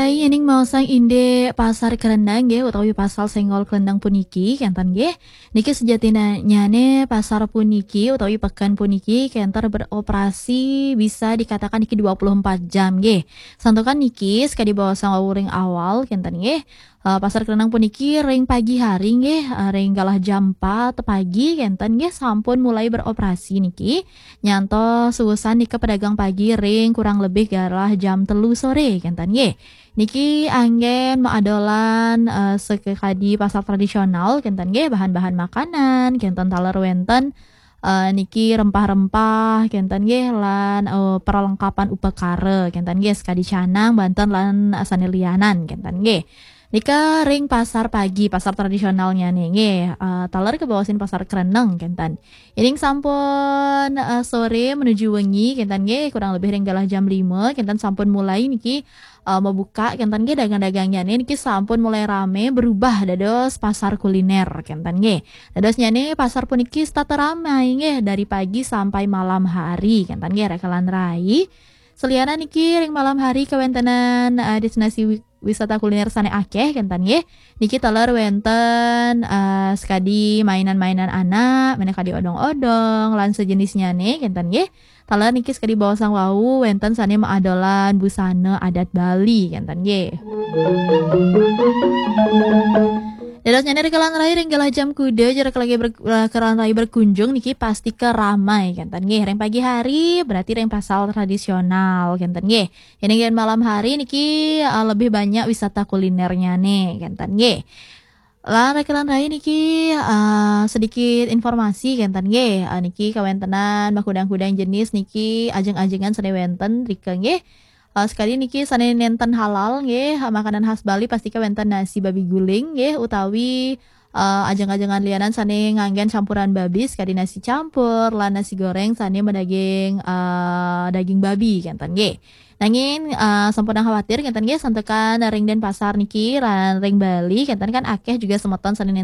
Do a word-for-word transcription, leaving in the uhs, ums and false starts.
Yening maosang indik Pasar Kereneng nggih, utawi Pasar Senggol Kereneng puniki, kenten nggih. Niki sejatinyane pasar puniki utawi peken puniki kenten beroperasi bisa dikatakan niki dua puluh empat jam nggih. Santukan niki sekadi baosang wau ring awal, kenten nggih. Eh, Pasar Kereneng puniki ring pagi hari nggih, eh, ring galah jam empat pagi kenten nggih sampun mulai beroperasi niki. Nyantos suusan nika pedagang pagi ring kurang lebih galah jam telu sore kenten nggih. Niki anggen maadolan, eh, sekadi pasar tradisional kenten nggih, bahan-bahan makanan kenten taler wenten, eh, niki rempah-rempah kenten nggih, lan, eh, perlengkapan upakara kenten nggih, sekadi canang, banten lan sane lianan kenten nggih. Nika ring pasar pagi, pasar tradisionalnyane nggih, eh, taler kebaosin Pasar Kereneng kenten. Yening sampun, eh, sore menuju wengi kenten nggih, kurang lebih ring galah jam lima kenten sampun mulai niki, eh, mabuka kenten nggih, dagang-dagangnyane niki sampun mulai rame berubah dados pasar kuliner kenten nggih. Dadosnyane pasar puniki setata ramai nggih dari pagi sampai malam hari kenten nggih, raka lan rai. Selianan niki ring malam hari kawentenan, eh, destinasi wi-, wisata kuliner sane akeh kenten nggih. Niki taler wenten, eh, sekadi mainan-mainan anak, meneh kadi odong-odong lan sejenisnyane kenten nggih. Taler niki sekadi baosang wau wenten sane maadolan busana adat Bali kenten nggih. Dadosnyane raka lan rai ring galah jam kuda, jero lagi ber-, eh, raka lan rai berkunjung niki pastika ramai kenten nggih. Ring pagi hari berarti ring pasar tradisional kenten nggih. Yening yen malam hari niki, eh, lebih banyak wisata kulinernyane kenten nggih. Lan raka lan rai niki, eh, sedikit informasi kenten nggih. Eh, niki kawentenan makudang-kudang jenis niki ajeng-ajengan sane wenten rika nggih. Eh, sekadi niki sane nenten halal nggih, eh, makanan khas Bali pastika wenten nasi babi guling nggih, utawi, eh, ajeng-ajengan lianan sane nganggen campuran babi sekadi nasi campur lan nasi goreng sane madaging, eh, daging babi kenten nggih. Nanging, eh, sampunang khawatir kenten nggih, santukan ring Denpasar niki lan ring Bali kenten kan akeh juga semeton sane nenten